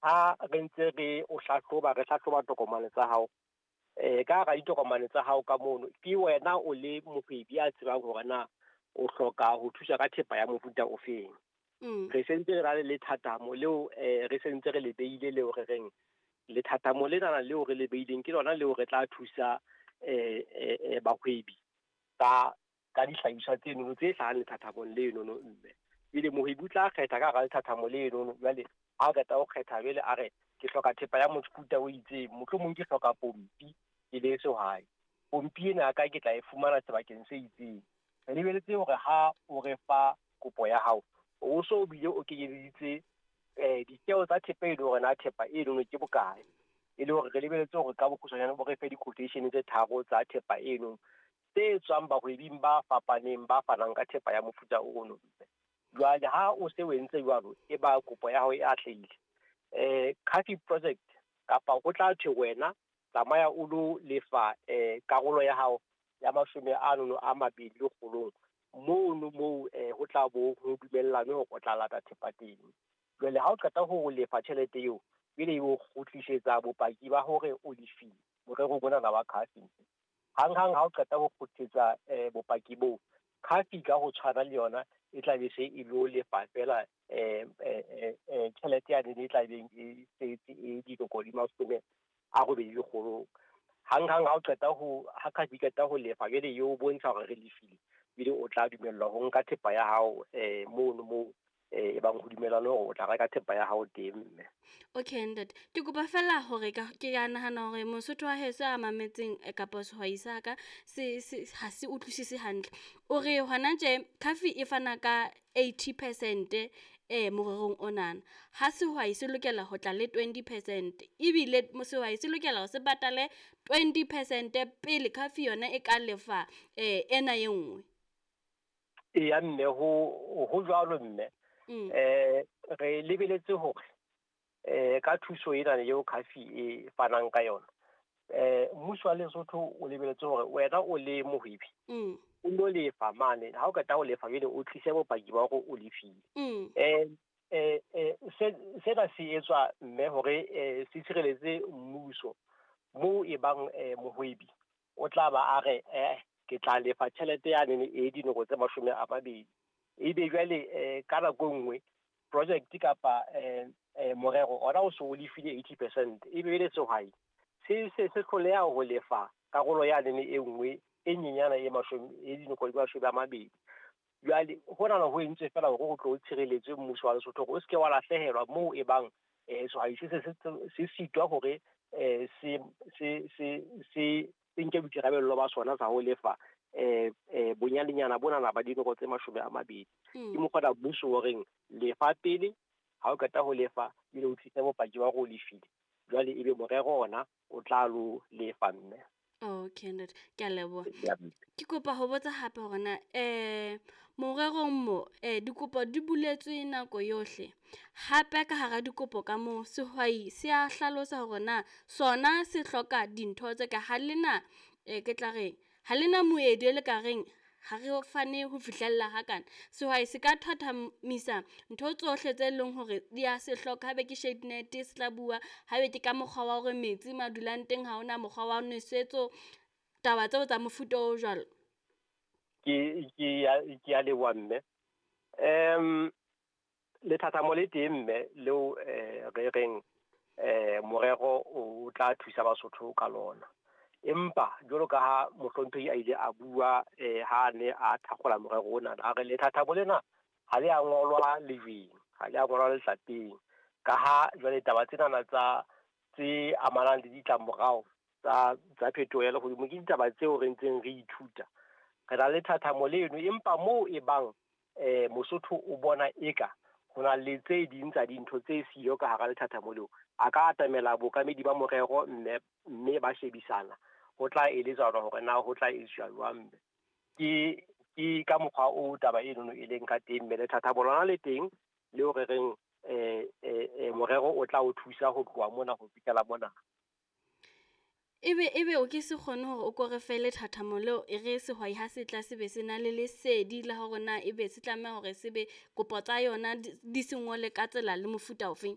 Ha re ntse re o hlahloba, re hlahloba tokomane tsa hao, ka hara ditokomane tsa hao ka mono, ke wena o le mohwebi a tsebang hore na o hloka ho thusa ka thepa ya mofuta o feng. Re sentse re na le lethathamo leo, re sentse re le beile leo re reng lethathamo lenana leo re le beileng ke lona leo re tla thusa bahwebi ka dihlahiswa tsenono tse hlahang lethathamong lenono mme. Pele mohwebi o tla kgetha ka hara lethathamo lenono, jwale ha qeta ho kgetha jwale a re ke hloka thepa ya mofuta o itseng, mohlomong ke hloka pompi ke le sehwai. Pompi ena ya ka ke tla e fumana sebakeng se itseng. Re lebeletse hore ha o re fa kopo ya hao, o so bile o kenyeleditse ditjeo tsa thepa e le hore na thepa enono ke bokae. E le hore re lebeletse hore ka bokgutshwanyane bo re fe di-quotation tse tharo tsa thepa eno tse tswang bahwebing ba fapaneng ba fanang ka thepa ya mofuta ono. Jwale ha o se o entse jwalo, e ba kopo ya hao e atlehile. CAFI project kapa ho tla thwe wena tsamaya o lo lefa karolo ya hao ya 20 lekgolong mono moo ho tla bo ho dumellanwe hore o tla lata thepa teng. Jwale ha o qeta ho lefa tjhelete eo, pele o kgutlisetsa bopaki ba hore o lefile morerong ona wa CAFI. Hang-hang ha o qeta ho kgutlisetsa bopaki boo, CAFI ka ho tshwana le yona e tla be se e lo lefa fela tjhelete yane e tla beng e setse e dinoko di 80 lekgolong. Hang-hang ha o qeta ho ha CAFI qeta ho lefa jwale eo bontsha hore re lefile, ebile o tla dumellwa ho nka thepa ya hao mono moo e bang ho dumellane hore o tla reka thepa ya hao teng mme. Okay ntate, ke kopa fela hore ke a nahana hore Mosotho wa heso a mametseng kapa sehwai sa ka se ha se utlwisise hantle. O re hona tje CAFI e fana ka 80% morerong onana. Ha sehwai se lokela ho tla le 20%, ebile sehwai se lokela hore se patale 20% pele CAFI yona e ka lefa ena e nngwe. Eya mme, ho jwalo mme. Re lebeletse hore ka thuso ena eo CAFI e fanang ka yona, mmuso wa Lesotho o lebeletse hore wena o le mohwebi o lo lefa mane. Ha o qeta ho lefa jwale o tlise bopaki ba hore o lefile. Sena se etswa mme hore se tshireletse mmuso moo e bang mohwebi o tla ba a re ke tla lefa tjhelete yane e dinoko tse 20. Ebe jwale ka nako nngwe project kapa morero ona o so o lefile 80%, ebe le sehwai se hloleha ho lefa karolo yane e nngwe e nyenyana e dinoko di 20. Jwale hona ho entswe fela hore ho tlo tshireletswe mmuso wa Lesotho hore o se ke wa lahlehelwa moo e bang sehwai se sitwa hore se nke boikarabello ba sona sa ho lefa bonyanenyana bonana ba dinoko tse 20. Ke mokgwa mmuso o reng lefa pele, ha o qeta ho lefa ebile o tlise bopaki ba hore o lefile, jwale ebe morero ona o tla lo lefa mme. Okay ntate, ke a leboha. Ke kopa ho botsa hape hore na morerong mo dikopo di buletswe nako yohle. Hape ka hara dikopo ka moo sehwai se a hlalosa hore na sona se hloka dintho tse ka ha lena ke tla reng ha lena moedi e le ka reng ha re fane ho fihlella hakana. Sehwai se ka thathamisa ntho tsohle tse leng hore di a se hloka, haebe ke shade net se tla bua, haebe ke ka mokgwa wa hore metsi ma dulang teng ha hona mokgwa wa nwesetso, taba tseo tsa mofuta o jwalo. Ke a leboha mme. Lethathamo le teng mme leo re reng morero o tla thusa Basotho ka lona. Empa jwalo ka ha mohlomphehi a ile a bua ha ne a thakgola morero ona, a re lethathamo lena ha le a ngolwa lejweng, ha le a ngolwa letlapeng, ka ha jwale taba tsenana tsa tse amanang le ditlamorao tsa phetoho ya lehodimo ke ditaba tseo re ntseng re ithuta. Re na le lethathamo leno, empa moo e bang Mosotho o bona eka ho na le tse ding tsa dintho tse siyo ka hara lethathamo leo, a ka atamela bookamedi ba morero mme ba shebisana ho tla eletsana hore na ho tla etswa jwang. Ke ka mokgwa o taba enono e leng ka teng mme lethathamo lona le teng leo re reng morero o tla o thusa ho tloha mona ho fihlela mona. Ebe o ke se kgone hore o ko re fe lethathamo leo, e re sehwai ha se tla se be se na le lesedi la hore na ebe se tlameha hore se be kopo tsa yona di se ngole ka tsela le mofuta ofeng?